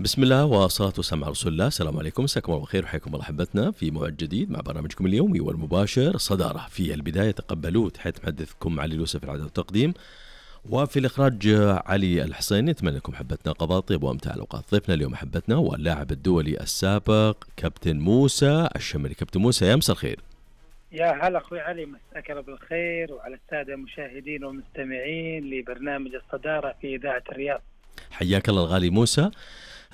بسم الله والصلاة والسلام على رسول الله. السلام عليكم، مساكم الله بالخير وحياكم الله أحبتنا في موعد جديد مع برنامجكم اليومي والمباشر صدارة. في البداية تقبلوا تحية محدثكم علي اليوسف العدد والتقديم، وفي الإخراج علي الحسيني. نتمنى لكم حبتنا قضاء طيب وأمتع الأوقات. ضيفنا اليوم حبتنا واللاعب الدولي السابق كابتن موسى الشمري. كابتن موسى يا مساء الخير. يا هلا أخوي علي، مساك الله بالخير وعلى السادة المشاهدين والمستمعين لبرنامج الصدارة في إذاعة الرياض. حياك الله الغالي موسى.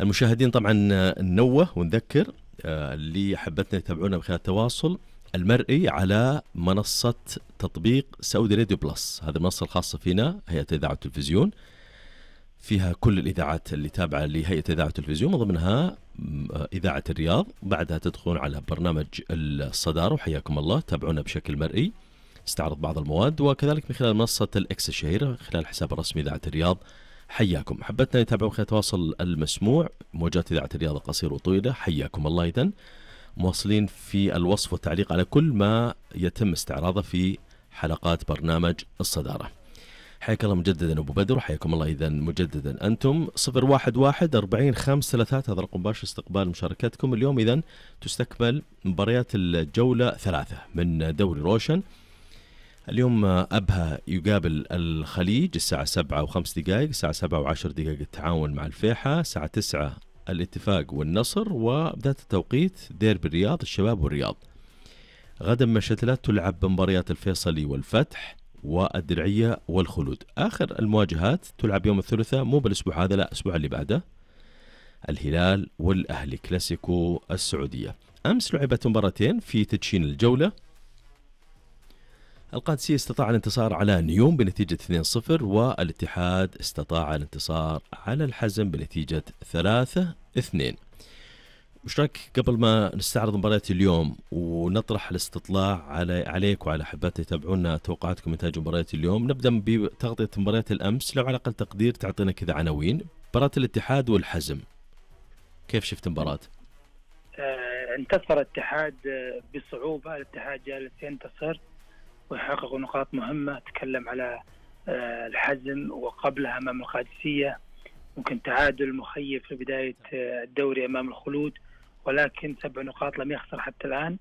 المشاهدين طبعا ننوه ونذكر اللي حبتنا يتابعونا بخلال التواصل المرئي على منصة تطبيق سعودي راديو بلس. هذه المنصة الخاصة فينا هيئة إذاعة التلفزيون، فيها كل الإذاعات اللي تابعة لهيئة إذاعة التلفزيون، من ضمنها إذاعة الرياض. بعدها تدخلون على برنامج الصدارة وحياكم الله، تابعونا بشكل مرئي، استعرض بعض المواد، وكذلك من خلال منصة الإكس الشهيرة خلال الحساب الرسمي إذاعة الرياض. حياكم. حبتنا يتابعون خلال التواصل المسموع موجات إذاعة الرياض قصير وطويلة. حياكم الله. إذن مواصلين في الوصف والتعليق على كل ما يتم استعراضه في حلقات برنامج الصدارة. حياك الله مجددا أبو بدر، وحياكم الله إذن مجددا أنتم. 011-40-533 هذا رقم مباشر استقبال مشاركتكم. اليوم إذن تستكمل مباريات الجولة 3 من دوري روشن. اليوم أبها يقابل الخليج الساعة 7:05، الساعة 7:10 التعاون مع الفيحة، الساعة 9 الاتفاق والنصر، وبداية التوقيت ديربي الرياض الشباب والرياض. غدا مشتلات تلعب مباريات الفيصلي والفتح والدرعية والخلود. آخر المواجهات تلعب يوم الثلاثاء، مو بالأسبوع هذا، لا الأسبوع اللي بعده، الهلال والأهلي كلاسيكو السعودية. أمس لعبت مباراتين في تدشين الجولة. القادسية استطاع الانتصار على نيوم بنتيجة 2-0، والاتحاد استطاع الانتصار على الحزم بنتيجة 3-2. وش رأيك قبل ما نستعرض مباريات اليوم ونطرح الاستطلاع عليك وعلى حبات يتابعونا توقعاتكم نتائج مباريات اليوم، نبدأ بتغطية مباريات الأمس. لو على أقل تقدير تعطينا كذا عناوين مباراة الاتحاد والحزم، كيف شفت مباراة؟ انتصر الاتحاد بصعوبة. الاتحاد جالس ينتصر ويحقق نقاط مهمة. تكلم على الحزم وقبلها أمام القادسية، ممكن تعادل مخيف في بداية الدوري أمام الخلود، ولكن 7 نقاط لم يخسر حتى الآن.